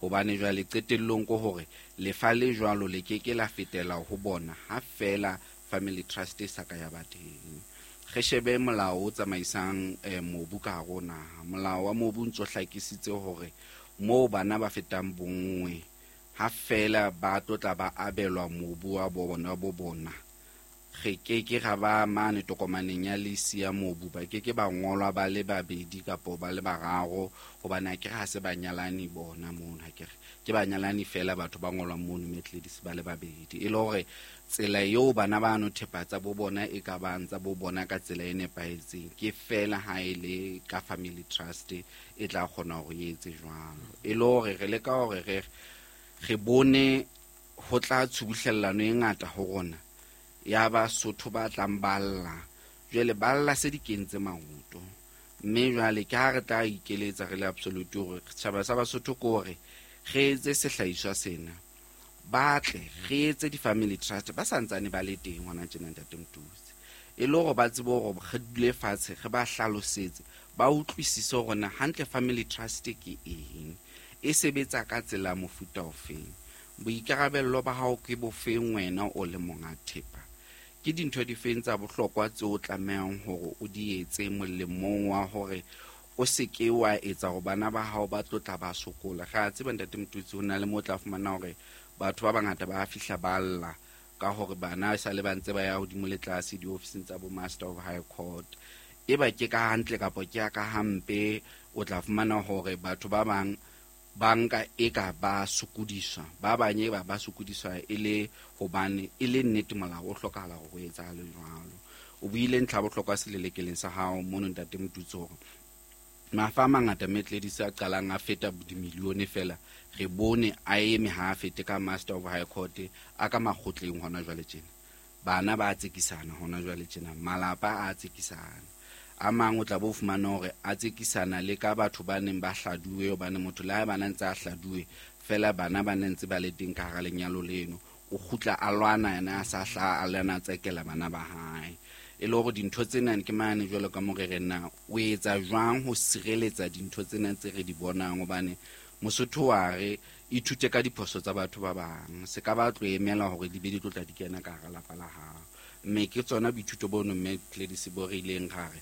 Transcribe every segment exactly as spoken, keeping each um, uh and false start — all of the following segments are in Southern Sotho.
Hobane jwale qetellong ke hore lefa le jwalo le ke ke la fetela ho bona ha feela family trust e sa ka ya ba teng. Re shebe molao o tsamaisang eh, mobu ka hare ho naha. Molao wa mobu o ntso hlakisitse hore moo bana ba fetang bonngwe ha feela ba tlo tla ba abelwa mobu wa bona bo bona, re ke ke ra ba mane tokomaneng ya lease ya mobu, ba ke ke ba ngolwa ba le babedi kapo ba le bararo, hobane akere ha se banyalani bona mono, akere ke banyalani feela batho ba ngolwang mono Methodist ba le babedi. E le hore tsela eo bana ba no thepa tsa bo bona e ka bang tsa bo bona ka tsela e nepahetseng ke feela ha e le ka family trust e tla kgona hore e etse jwalo. E le hore re leka hore re re bone ho tla tshubuhlellano e ngata ho rona ya Basotho ba tlang ba lla. Jwale ba lla se di kentse maoto, mme jwale ke ha re tla ikeletsa re le Absolute hore setjhaba sa Basotho ke hore re etse sehlahiswa sena, ba tle re etse di-family trust ba santsane ba le teng hona tjena ntate Motutsi, e le hore ba tsebe hore re dule fatshe re ba hlalosetse, ba utlwisise hore na hantle family trust ke eng, e sebetsa ka tsela mofuta ofeng, boikarabello ba hao ke bofeng wena o le monga thepa, ke dintho difeng tsa bohlokwa tseo o tlamehang hore o di etse molemong wa hore o se ke wa etsa hore bana ba hao ba tlo tla ba sokola. Re a tseba ntate Motutsi ho na le moo o tla fumana hore batho ba bangata ba fihla ba lla ka hore bana e sale ba ntse ba ya hodimo le tlase diofising tsa bo Master of High Court, e ba ke ka hantle kapa ke ya ka hampe, o tla fumana hore batho ba bang ba nka e ka ba sokodiswa, ba bang e ba ba sokodiswa e le hobane e le nnete molao o hlokahala hore ho etsahale jwalo. O buile ntlha ya bohlokwa selelekeleng sa hao mono ntate Motutsi hore mafa a mangata Methodist a qalang a feta dimilione fela, re bone a eme ha a fete ka Master of High Court a ka makgotleng hona jwale tjena. Bana ba tsekisana hona jwale tjena, malapa a tsekisana. A mang o tla bo fumana hore a tsekisana le ka batho ba neng ba hladuwe, hobane motho le ha bana ntse a hladuwe fela bana ba ne ntse ba le teng ka hara lenyalo leno, o kgutla a lwana yena a sa hlaha a lwana a tsekela bana ba hae. E le hore dintho tsena ke mane jwalo ka mo re re na o etsa jwang ho sireletsa dintho tsena tse re di bonang, hobane Mosotho wa re ithute ka diphoso tsa batho ba bang, se ka ba tlo emela hore di be di tlo tla di kena ka hara lapa la hao. Mme ke tsona boithuto bono mme Gladys bo re ileng ra re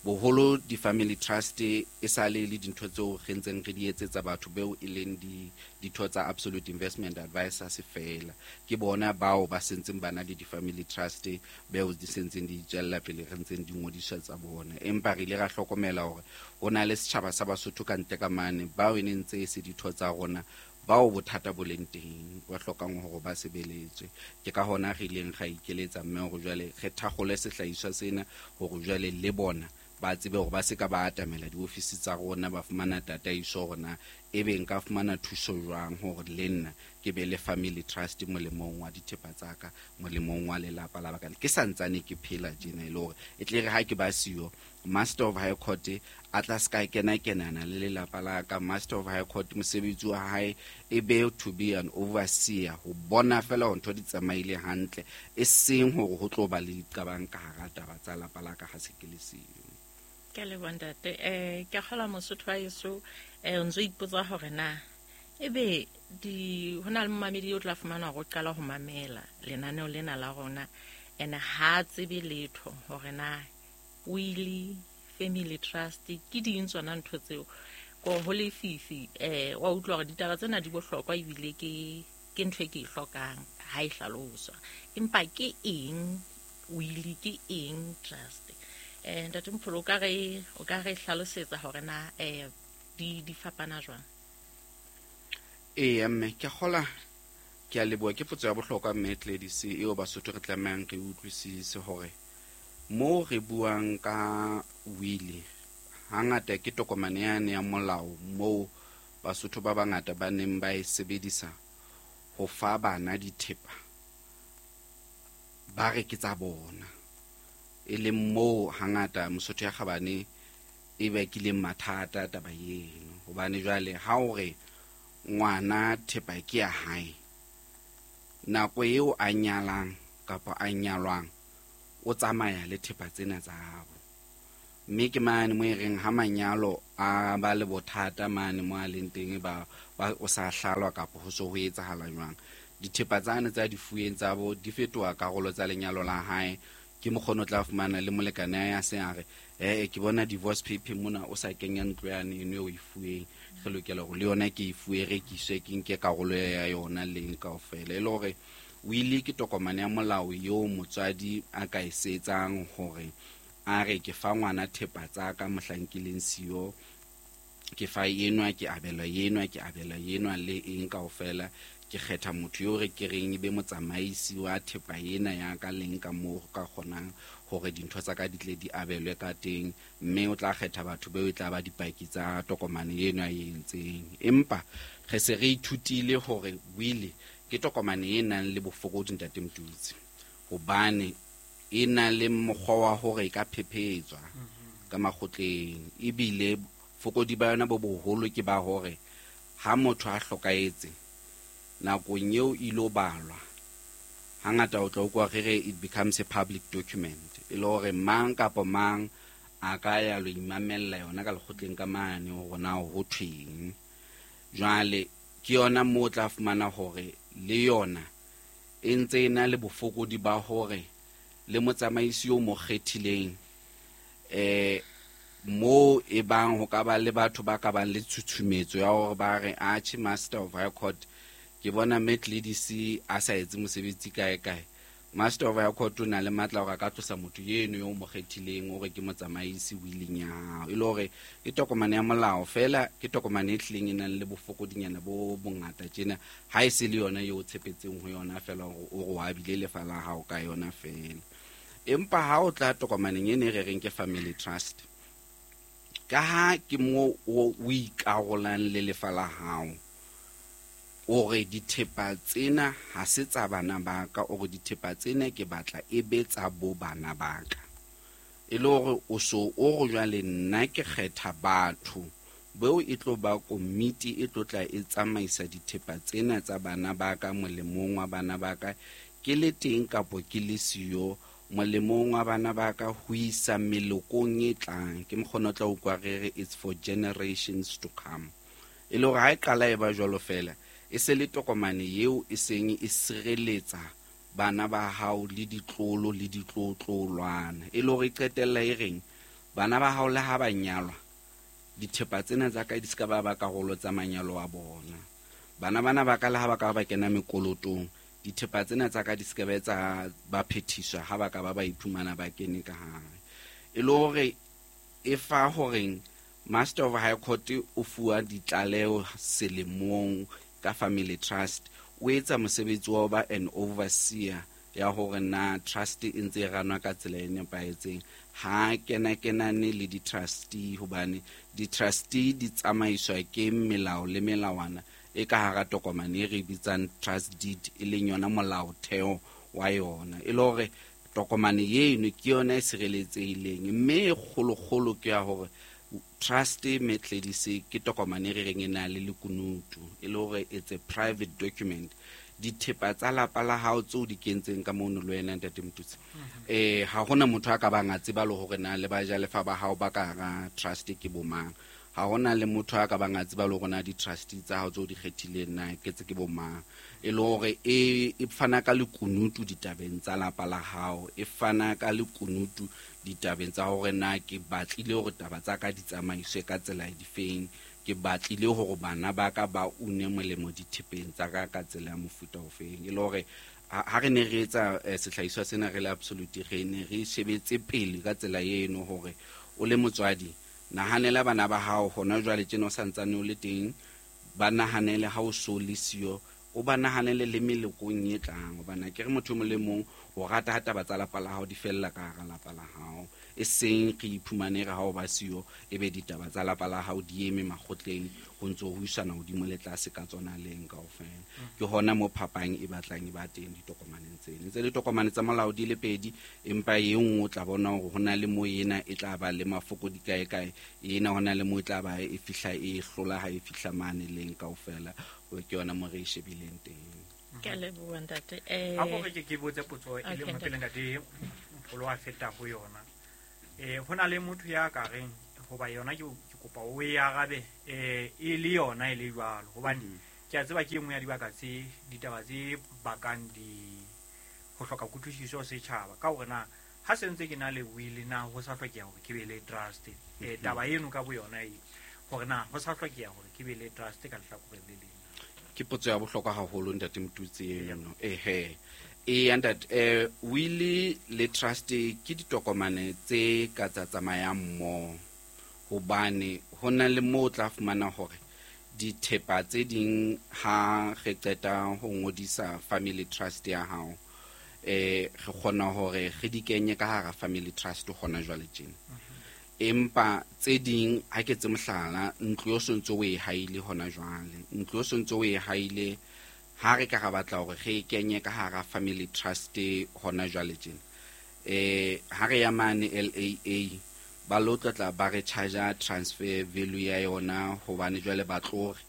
boholo di-family trust e sale le dintho tseo re ntseng re di etsetsa batho beo e leng di ditho tsa Absolute Investment Advisors fela. Ke bona bao ba sentseng ba na le di-family trust beo di sentseng di tswella pele re ntseng di ngodiswa tsa bona. Empa re ile ra hlokomela hore ho na le setjhaba sa Basotho ka ntle ka mane bao e neng ntse e se ditho tsa rona, bao bothata bo leng teng ba hlokang hore ba sebeletswe. Ke ka hona re ileng ra ikeletsa mme hore jwale re thakgole sehlahiswa sena hore jwale le bona ba tsebe hore ba se ka ba atamela diofisi tsa rona, ba fumana tataiso hore na ebe nka fumana thuso jwang hore le nna ke be le family trust molemong wa dithepa tsa ka, molemong wa lelapa la baka. Ke santsane ke phela tjena e le hore e tle re ha ke ba siyo, Master of High Court a tla ska kena kenana le lelapa la ka. Master of High Court mosebetsi wa hae e be to be an overseer, ho bona fela hore ntho di tsamaile hantle, e seng hore ho tlo ba le diqabang ka hara taba tsa lapa la ka ha se ke le siyo. Ke a leboha ntate. Eh, ke a kgolwa Mosotho wa heso, eh, o ntso ipotsa hore na ebe di ho na le momamedi o tla fumana hore o qala ho mamela lenaneo lena la rona, ene ha tsebe letho hore na will, family trust ke ding tsona ntho tseo. Ko ho lefifi, eh, wa utlwa hore ditaba tsena di bohlokwa ebile ke ke ntho e ke e hlokang ha e hlaloswa. Empa ke eng will, ke eng trust? Eh, ntate Mpholo, o ka re, o ka re hlalosetsa hore na, eh, di, di fapana jwang? Eya mme, ke kgola, ke a leboha. Ke potso ya bohlokwa mme Gladys eo Basotho re tlamehang re utlwisise hore moo re buang ka will hangata ke tokomane yane ya molao moo Basotho ba bangata ba neng ba e sebedisa ho fa bana dithepa ba re ke tsa bona, e leng moo hangata Mosotho ya kgabane e bakileng mathata taba eno. Hobane jwale ha o re ngwana thepa ke ya hae, nako eo a nyalang kapa a nyalwang o tsamaya le thepa tsena tsa habo. Mme ke mane mo e reng ha manyalo a ba le bothata mane mo a leng teng ba o sa hlalwa kapa ho so ho etsahala jwang, dithepa tsane tsa di fuweng tsa bo di fetoha karolo tsa lenyalo la hae. Ke mokgono o tla fumana le molekane ya se a re eh ke bona divorce paper mona o sa kenya ntlo yane eno o e fuweng, re lokela hore le yona ke e fuwe rekiswe ke nke karolo ya yona leng kaofela. E le hore wili ke tokomane ya molao eo motswadi a ka e setsang hore a re ke fa ngwana thepa tsa ka mohlang ke leng siyo, ke fa enwa, ke abelwa enwa, ke abelwa enwa le eng kaofela. Ke kgetha motho eo re ke reng ebe motsamaisi wa thepa ena ya ka leng ka moo ka kgonang hore dintho tsa ka di tle di abelwe ka teng, mme o tla kgetha batho beo e tla ba dipaki tsa tokomane eno a e entseng. Empa re se re ithutile hore wili ke tokomane e nang le bofokodi, ntate Motutsi, hobane e na le mokgwa wa hore e ka phephetswa ka makgotleng, ebile fokodi ba yona bo boholo ke ba hore ha motho a hlokahetse nakong eo ilo balwa, hangata o tla utlwa re re it becomes a public document, e le hore mang kapa mang a ka ya lo imamella yona ka lekgotleng ka mane hore na ho thweng. Jwale ke yona moo o tla fumana hore le yona e ntse e na le bofokodi ba hore le motsamaisi o mo kgethileng eh mo e bang ho ka ba le batho ba ka bang le tshutshumetso ya hore ba re atjhe Master of High Court ke bona Metledisi a sa etse mosebetsi kae kae. Master of High Court o na le matla hore a ka tlosa motho eno yo mo kgethileng hore ke motsamaisi willing ya hao. E le hore ke tokomane ya molao fela, ke tokomane e hlileng e nang le bofokodinyana bo bongata tjena, ha e se le yona eo o tshepetseng ho yona fela hore o re wa bile lefa la hao ka yona fela. Empa ha o tla tokomaneng ena e re reng ke family trust, ka ha ke mo o ikarolang le lefa la hao, o re dithepa tsena ha se tsa bana ba ka, o re dithepa tsena ke batla e be tsa bo bana ba ka. E le hore o so o re jwale nna ke kgetha batho beo e tlo ba komiti e tlo tla e tsamaisa dithepa tsena tsa bana ba ka molemong wa bana ba ka, ke le teng kapo ke le siyo molemong wa bana ba ka ho isa melokong e tlang. Ke mokgona o tla utlwa re re it's for generations to come. E le hore ha e qala e ba jwalo fela, e se le tokomane eo e seng e sireletsa bana ba hao le ditlolo le ditlotlolwana. E le hore e qetella e reng bana ba hao le ha ba nyalwa, dithepa tsena tsa ka di ska ba ba karolo tsa manyalo a bona. Bana bana ba ka le ha ba ka ba kena mekolotong, dithepa tsena tsa ka di ska ba etsa ba phethiswa ha ba ka ba ba iphumana ba kene ka hare. E le hore e fa horeng Master of High Court o fuwa ditlaleho selemong ka family trust, o etsa mosebetsi wa ho ba an overseer ya hore na trust e ntse e ranwa ka tsela e nepahetseng. Ha kena kenane le di-trustee, hobane di-trustee di tsamaiswa ke melao le melawana e ka hara tokomane e re bitsang trust deed, e leng yona molaotheo wa yona. E le hore tokomane eno ke yona e sireletsehileng, mme e kgolokgolo ke ya hore trust Metledisi ke tokomane e re reng e na le lekunutu, e le hore it's a private document. Dithepa tsa lapa la hao tseo di kentseng ka mono le wena ntate Motutsi, eh ha hona motho a ka bang a tseba le hore na le bajalefa ba hao ba ka hara trust ke bomang. Ha hona le motho a ka bang a tseba le hore na di-trustee tsa hao tseo di kgethileng na ke tse ke bomang. E le hore e e fana ka lekunutu ditabeng tsa lapa la hao, e fana ka lekunutu ditabeng tsa hore na ke batlile hore taba tsa ka di tsamaiswe ka tsela difeng, ke batlile hore bana ba ka ba une molemo dithepeng tsa ka ka tsela ya mofuta ofeng. E le hore ha re ne re etsa sehlahiswa sena re le absolute, re ne re shebetse pele ka tsela eno hore o le motswadi nahanela bana ba hao hona jwale tjena o santsane o le teng, ba nahanele ha o so le siyo, o ba nahanele le melokong e tlang. Hobane ke re motho o le mong o rata ha taba tsa lapa la hao di fella ka hara lapa la hao, e seng re iphumane re ha o ba siyo e be ditaba tsa lapa la hao di eme makgotleng ho ntso ho isana hodimo le tlase ka tsona leng kaofela. Ke hona mo phapang e batlang e ba teng ditokomaneng tsena. Tse ditokomane tsa molao di le pedi, empa e nngwe o tla bona hore hona le mo ena e tla ba le mafokodi kae kae, ena hona le mo e tla ba e fihla e hlola ha e fihla mane leng kaofela. Ke yona mo re e shebileng teng. Ke a leboha ntate. Eh a go re ke ke botse potso e le nngwe pele ntate Mpholo a feta ho yona. Eh ho na le motho ya ka reng hoba yona ke ke kopa o e arabe eh e le yona e le jwalo hobane ke a tseba ke engwe ya dibaka tse ditaba tse bakang di ho hloka kutlwisiso setjhaba ka hore na ha se ntse ke na le will na ho sa hlokeha hore ke be le trust eh taba eno ka bo yona e hore na ho sa hlokeha hore ke be le trust ka lehlakoreng le leng. Ke potso ya bohlokwa haholo ntate Motutsi eno. Ehe e ntate eh will le trust ke ditokomane tse ka tsa tsamayang mmoho, hobane ho na le moo o tla fumana hore dithepa tse ding ha re qeta ho ngodisa family trust ya hao eh re kgona hore re di kenye ka hara family trust hona jwale tjena. Empa tse ding ha ke tse mohlala ntlo yo sontso o e haile hona jwale, ntlo yo sontso o e haile ha re ka ra batla hore re e kenye ka hara family trust hona jwale tjena eh ha re ya mane L A A ba lo tla ba re charge transfer value ya yona hobane jwale ba tlo re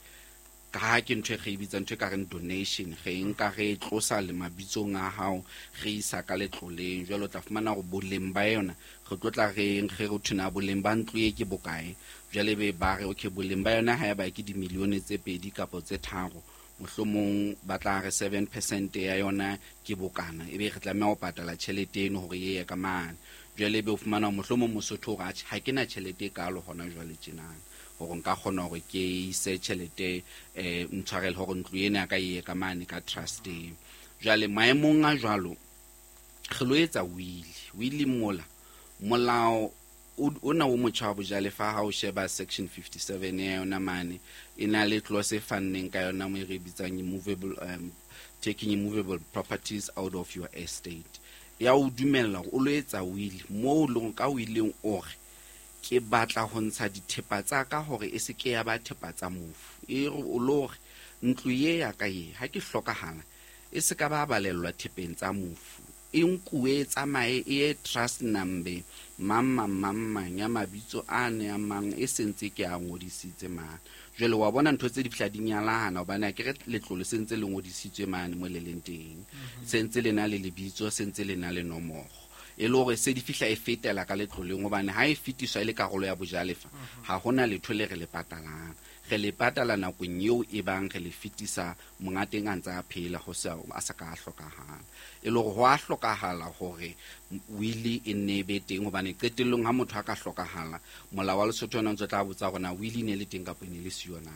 ka ha ke ntho e re bitsang ntho e ka reng donation, re nka re tlosa le mabitsong a hao re isa ka letloleng. Jwale o tla fumana hore boleng ba yona re tlo tla re re re thuna boleng ba ntlo e ke bokae, jwale be ba re okay boleng ba yona ha eba ke dimilione tse pedi kapa tse tharo, mohlomong ba tla re seven percent ya yona ke bokana, ebe re tlameha ho patala tjhelete eno hore e ye ka mane. Jwale ebe o fumana mohlomong Mosotho hore atjhe ha ke na tjhelete e kalo hona jwale tjenana hore nka kgona hore ke ise tjhelete eh ntshwarele hore ntlo ena ya ka e ye ka mane ka trust. Jwale maemong a jwalo re lo etsa will, will mola molao ona o motjha wa bojalefa ha o sheba section fifty-seven ya yona mane e na le clause e fanneng ka yona mo e re bitsang immovable um, taking immovable properties out of your estate, ya o dumella hore o lo etsa will moo leng ka willeng o re ke batla ho ntsha dithepa tsa ka hore e se ke ya ba thepa tsa mofu, e re o lo re ntlo ye ya ka ye ha ke hlokahala e se ka ba balellwa thepeng tsa mofu, e nkuwe tsamaye e ye trust number mang mang mang mang ya mabitso a ne a mang e sentse ke a ngodisitse mane. Jwale wa bona ntho tse di fihla di nyalana hobane akere letlole sentse le ngodisitswe mane mo le leng teng, sentse le na le lebitso, sentse le na le nomoro, e le hore se di fihla e fetela ka letloleng hobane ha e fetiswa e le karolo ya bojalefa ha hona letho le re le patalang, re le patala nakong eo e bang re le fetisa monga teng a ntse a phela ho sa a sa ka hlokahala. E le hore ho a hlokahala hore will e nne be teng hobane qetellong ha motho a ka hlokahala molao wa Lesotho ona ntse tla botsa hore na will e ne le teng kapa e ne le siyo na.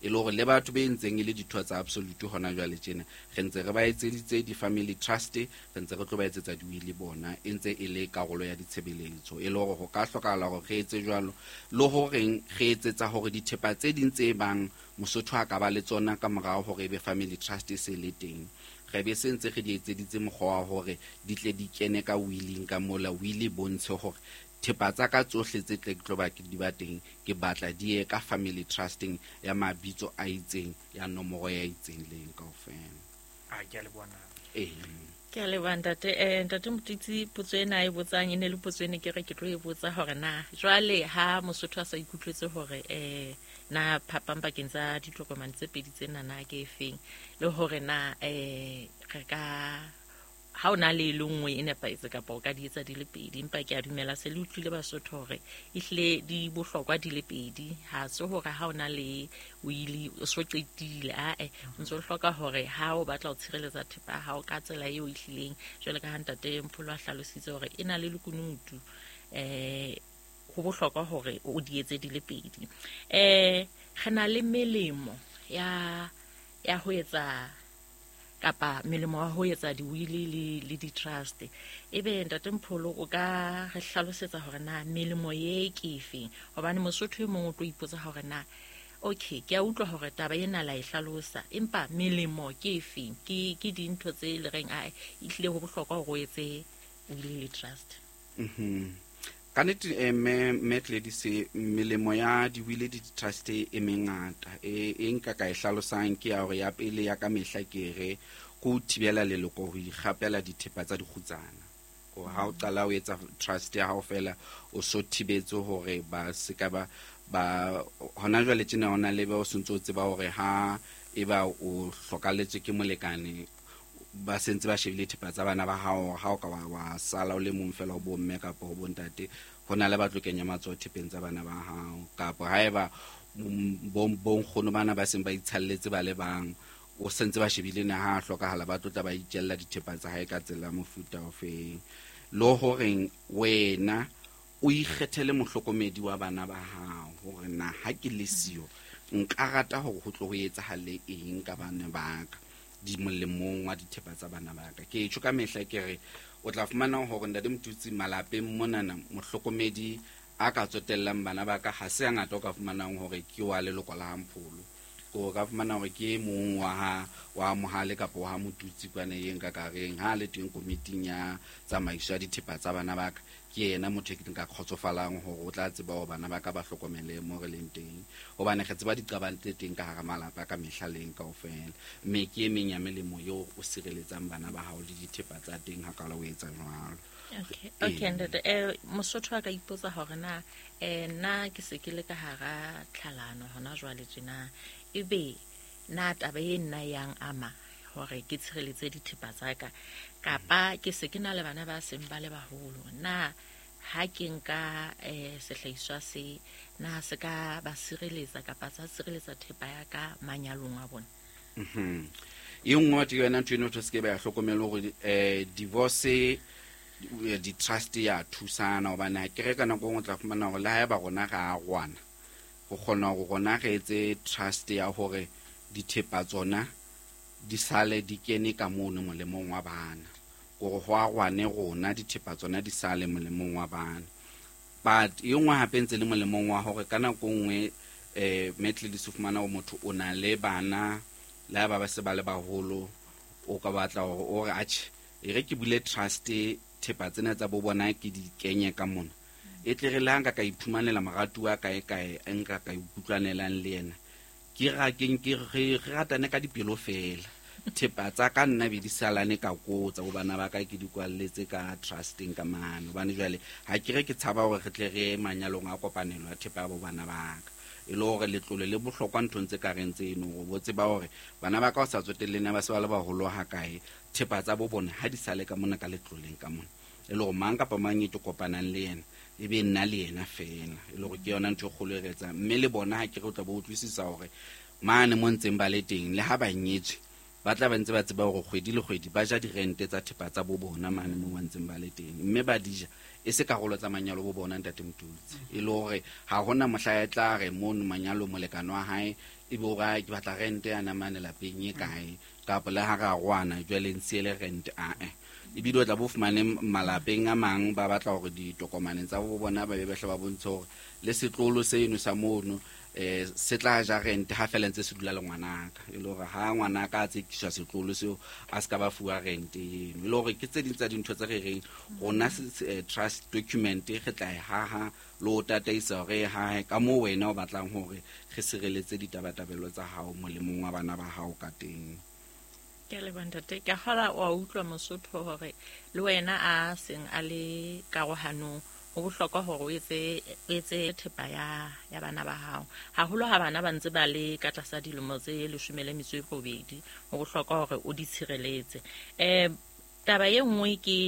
E le hore le batho be ntseng e le ditho tsa absolute hona jwale tjena re ntse re ba etseditse di-family trust, re ntse re tlo ba etsetsa di-will bona e ntse e le karolo ya ditshebeletso. E le hore ho ka hlokahala hore re etse jwalo le horeng re etsetsa hore dithepa tse ding tse bang Mosotho a ka ba le tsona ka morao hore ebe family trust e se le teng, re be se ntse re di etseditse mokgwa wa hore di tle di kene ka willing ka mola will e bontshe hore thepa tsa ka tsohle tse tle ke tlo ba ke di ba teng ke batla di ye ka family trusting ya mabitso a itseng ya nomoro ya itseng leng kaofela. A ke a le bona. Eh Ke a leboha ntate. Eh ntate Motutsi, potso ena e botsang e ne le potso ene ke re ke tlo e botsa hore na jwale ha Mosotho a sa ikutlwetse hore eh na phapang pakeng tsa ditokomane tse pedi tsena na ke efeng, le hore na eh re ka ha o na le le nngwe e nepahetse kapa o ka di etsa di le pedi, empa ke a dumela se le utlwile Basotho hore ehlile di bohlokwa di le pedi, ha se hore ha o na le will o so qetile, ae o ntso hloka hore ha o batla ho tshireletsa thepa ya hao ka tsela eo ehlileng jwale ka ha ntate Mpholo a hlalositse hore e na le lekunutu, eh ho bohlokwa hore o di etse di le pedi. Eh re na le melemo ya ya ho etsa kapa melemo wa ho etsa di-will le le di-trust, ebe ntate Mpholo o ka re hlalosetsa hore na melemo ye ke efeng, hobane Mosotho e mong o tlo ipotsa hore na okay ke a utlwa hore taba ena la e hlalosa, empa melemo ke efeng, ke ke dintho tse le reng a ehlile ho bohlokwa hore o etse will le trust. Mhm. Ka nnete eh, me me Gladys, melemo ya di-will le di-trust e mengata e e nka ka e hlalosang ke ya hore ya pele ya ka mehla ke re ko thibela leloko ho ikgapela dithepa tsa dikgutsana. Ko ha o qala o etsa trust ya hao fela o so thibetse hore ba se ka ba ba hona jwale tjena hona le ba o sentse o tseba hore ha eba o hlokaletswe ke molekane ba sentse ba shebile thepa tsa bana ba hao ha o ka wa wa sala o le mong fela o bo mme kapa ho bontate ho na le ba tlo kenya matsoho thepeng tsa bana ba hao kapa haeba bo bo nkgono bana ba seng ba itshalletse ba le bang o sentse ba shebile na ha hlokahala ba tlo tla ba itjella dithepa tsa hae ka tsela mofuta o feng lo horeng wena o ikgethele mohlokomedi wa bana ba hao hore na ha ke le siyo nka rata hore ho tlo ho etsahale eng ka bana ba ka di molemong wa dithepa tsa bana ba ka. Ke tjho ka mehla ke re o tla fumana hore ntate Motutsi malapeng monana mohlokomedi a ka tsotellang bana ba ka ha se ngata o ka fumanang hore ke wa leloko la Mpholo ko ka fumana hore ke mong wa ha wa Mohale kapa wa Motutsi kwana yeng ka kareng ha le teng komiting ya tsamaiso ya dithepa tsa bana ba ka ke yena motho e ke nka kgotsofalang hore o tla tseba hore bana ba ka ba hlokomele mo re leng teng hobane re tseba diqabang tse teng ka hara malapa ka mehla leng kaofela mme ke e meng ya melemo eo o sireletsang bana ba hao le dithepa tsa teng ha ka la o etsa jwalo. Okay, okay ntate eh Mosotho a ka ipotsa hore na eh nna ke se ke le ka hara tlhalano hona jwale tjena ebe na taba e nna yang ama hore ke tshireletse dithepa tsa ka kapa ke se ke na le bana ba seng ba le baholo na ha ke nka eh sehlahiswa se na se ka ba sireletsa kapa tsa sireletsa thepa ya ka manyalong a bona. Mhm. E nngwe ke yona ntho eno se ke ba ya hlokomela hore eh divorce di trust ya thusana hobane ha ke re ka nako e nngwe tla fumana hore le haeba rona ra arwana go kgona hore rona re etse trust ya hore dithepa tsona di sale di kene ka mono molemong wa bana gore ho arwane rona dithepa tsona di sale molemong wa bana but e nngwe hape ntse le molemong wa hore ka nako nngwe eh metle di fumana hore motho o na le bana le ha ba ba se ba le baholo o ka batla hore o re atjhe e re ke bule trust thepa tsena tsa bo bona ke di kenye ka mona e tle re le ha nka ka iphumanela moratuwa kae kae nka ka ikutlwanelang le yena ke ra ke ke re ratane ka dipelo fela thepa tsa ka nna be di salane ka kotsa ho bana ba ka ke di kwalletse ka trusting ka mane hobane jwale ha ke re ke tshaba hore re tle re manyalong a kopanelo ya thepa ya bo bana ba ka e le hore letlole le bohlokwa nthong tse ka reng tseno hore bo tseba hore bana ba ka o sa tsotelleng ba se ba le baholo ha kae thepa tsa bo bona ha di sale ka mona ka letloleng ka mona e le hore mang kapa mang e ke kopanang le yena e be nna le yena fela e le hore ke yona ntho e kgolo e re etsang mme le bona ha ke re o tla bo utlwisisa hore mane mo ntseng ba le teng le ha ba nyetswe ba tla ba ntse ba tseba hore kgwedi le kgwedi ba ja dirente tsa thepa tsa bo bona mane mo ba ntseng ba le teng mme ba di ja e se karolo tsa manyalo bo bona ntate Motutsi e le hore ha hona mohla e tla re mono manyalo molekano wa hae e be o re ke batla rente ya namane lapeng e kae kapa le ha ra rwana jwale ntshe le rente a eh ebile o tla bo fumane malapeng a mang ba batla hore ditokomaneng tsa bo bona ba be ba hle ba bontshe hore le setlolo seno sa mono eh se tla ja rente ha fela ntse se dula le ngwanaka e le hore ha ngwanaka a tsekiswa setlolo seo a se ka ba fuwa rente eno e le hore ke tse ding tsa dintho tse re reng rona trust document re tla e haha le o tataisa hore e hahe ka moo wena o batlang hore re sireletse ditabatabelo tsa hao molemong wa bana ba hao ka teng. Ke le ntate ke kgola wa utlwa Mosotho hore le wena a seng a le karohanong ho bohlokwa hore o etse o etse thepa ya ya bana ba hao haholo ha bana ba ntse ba le ka tlasa dilemo tse leshome le metso e robedi ho bohlokwa hore o di tshireletse. Eh taba e nngwe ke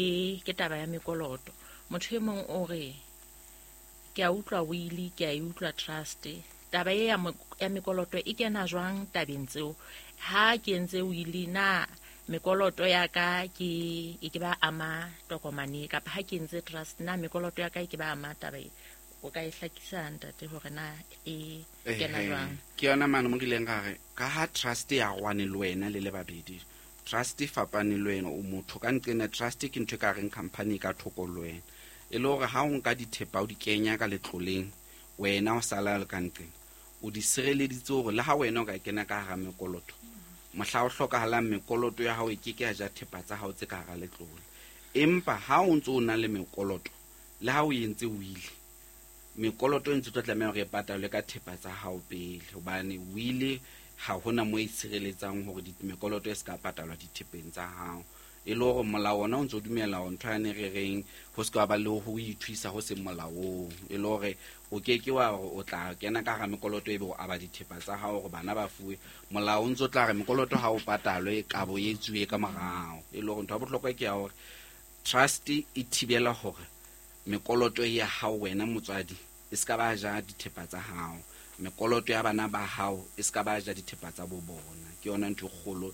ke taba ya mekoloto motho e mong o re ke a utlwa will ke a e utlwa trust taba e ya ya mekoloto e kena jwang tabeng tseo ha ke entse will na mekoloto ya ka ke e ke ba ama tokomane kapa ha ke entse trust na mekoloto ya ka e ke ba ama taba e o ka e hlakisa ntate hore na e kena jwang. Ke yona mane mo rileng ka re ka ha trust ya rwane le wena le le babedi trust e fapane le wena o motho ka nqena trust ke ntho e ka reng company ka thoko le wena e le hore ha o nka dithepa o di kenya ka letloleng wena o sala le ka nqena o di sireleditse hore le ha wena o ka kena ka hara mekoloto mohla o hlokahalang mekoloto ya hao e ke ke ya ja thepa tsa hao tse ka hara letlole empa ha o ntse o na le mekoloto le ha o entse will mekoloto e ntse tlo tlameha hore e patalwe ka thepa tsa hao pele hobane will ha hona mo e sireletsang hore mekoloto e se ka patalwa dithepeng tsa hao E le hore molao ona o ntso dumela hore ntho yane re reng ho se ka ba le ho ithuisa ho seng molaong. E le hore o ke ke wa hore o tla kena ka hara mekoloto ebe o aba dithepa tsa hao hore bana ba fuwe. Molao o ntso tla re mekoloto ha o patalwe kabo e etsuwe ka morao. E le hore ntho ya bohlokwa ke ya hore trust e thibela hore mekoloto ya hao wena motswadi e se ka ba ja dithepa tsa hao, mekoloto ya bana ba hao e se ka ba ja dithepa tsa bo bona. Ke yona ntho e kgolo